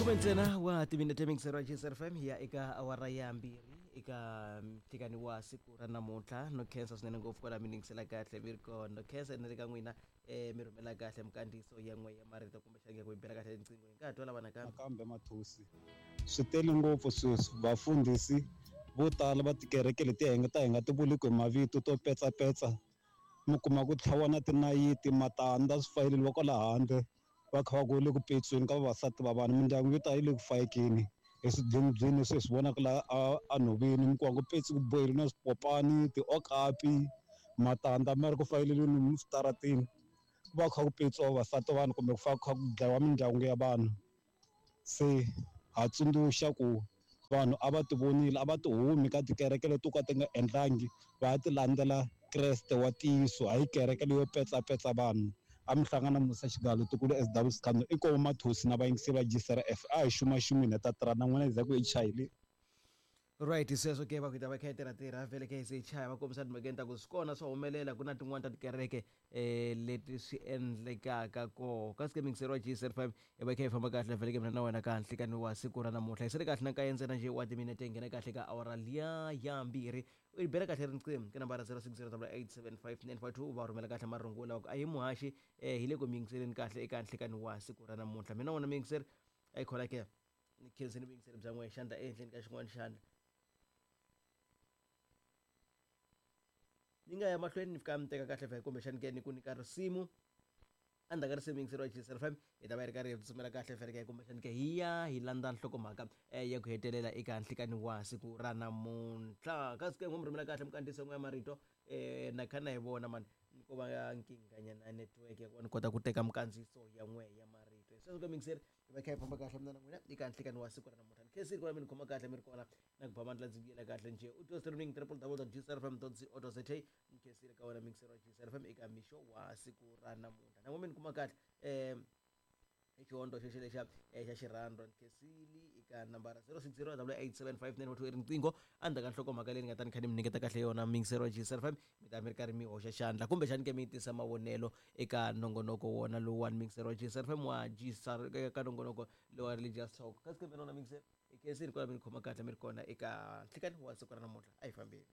Khume ntsena wa timinete mingisero ya GSR FM hi ya eka awara ya mbirhi eka ntikani wa siku ra namuntlha. No khensa swinene ngopfu kwala mi ningisela kahle mi ri kona. No khensa na le ka n'wina mi rhumela kahle minkandziyiso ya n'we ya marito kumbexana ku yi bela kahle riqingho hi nga ha twa lava nakambe. Nakambe Mathosi, swi tele ngopfu sweswi vafundhisi vo tala va tikereke letiya hi nga ta hi nga ti vuliki hi mavito to petsapetsa mi kuma ku tlhaviwa na tinayiti matandza swi fayeleriwa kwala handle va kha va ku le ku petsiweni ka vavasati va vanhu mindyangu yo tala yi le ku fayekeni hi swidlwingudlwingu leswi hi swi vonaka laha a enhoveni mi kuma ku petsi ku boheriwe na swipopani tiokapi matandza ma ri ku fayeleriweni eswitarateni ku va ku kha ku petsiwa vavasati va vanhu kumbe ku fa ku kha ku dlayiwa mindyangu ya vanhu se ha tsundzuxa ku vanhu a va ti vonile a va ti humi ka tikereke leti to ka ti nga endlangi va ya ti landzela Kreste wa ntiyiso hayi kereke leyo petsapetsa vanhu a mi hlangana Musa Xigalo Tukulu SW Sikhando inkomu Mathosi na vayingiseri va GCRF a hi xumaxumeni hi ta tirha na n'wina hi za ku hi chayile. Right sweswo ke va ku yi ta va kha yi tirha tirha vhele kha yi se yi chaya va kombisa timhakeni ta ku swi kona swa humelela ku na tin'wani ta tikereke um leti swi endlekaka koho kasi ke mingiseri wa G75 yi va yi kha yi famba kahle vhele ke mina na wena ka nhlikani wa siku ra namuntlha hi sele kahle na nkaye ntsena nje wa timinete hi nghena kahle ka awara liya ya mbirhi u yi bela kahle riqingho ka nambara 0608875952 va rhumela kahle marungula va ku a hi muhaxi um hi le ku mi yingiseleni kahle eka nhlikani wa siku ra namuntlha mina wona muyingiseri a yi khola ke ni khenseni vuyingiseri bya n'wehe xandla ehenhleni ka xin'wana xandla ni nga ya mahlweni ni fika mi teka kahle vhe kumbexani ke ni ku nyika risimu endzhaku ka risimu yingiseriwa GSL FM hi ta va hi ri karhi hi tsutsumela kahle vhele ke kumbexani ke hi ya hi landza nhlokomhaka ya ku hetelela eka nhlikani wa siku ra namuntlha kasi ke n'wi mi rhumela kahle minkandziyiso ya marito na kha na yi vona mani ni ko va nkinghanyana ya network ya ku va ni kota ku teka minkandziyiso ya n'we ya marito hi sweswo ke muyingiseri hi va kha hi famba kahle mina na n'wina eka nhlikani wa siku ra namuntlha ni khensile ku va mi ni khoma kahle mi ri kona na ku ba mandla ndzi vuyela kahle njhe u twa streaming www.gcrfm.co.za ni khensile ka wena mixer wa GCRFM eka mixo wa siku ra namuntlha na n'we mi ni kuma kahle i xihondzo xexo lexa xa xirhandwa ni khensile eka nambara 060 875 i riqingho endzhaku ka nhlokomhaka leyi ni nga ta ni kha ni mi nyiketa kahle yona mixer wa GCRFM mi ta mi ri karhi mi hoxa xandla kumbexani ke mi tisa mavonelo eka nongonoko wona lowuwani mixer wa GCRFM wa GCR ka nongonoko lowa religious talk kasi ke mina wona mixer hi khensile kwala mi ni khoma kahle mi ri kona eka nhlikani wa siku ra namuntlha a hi fambeni.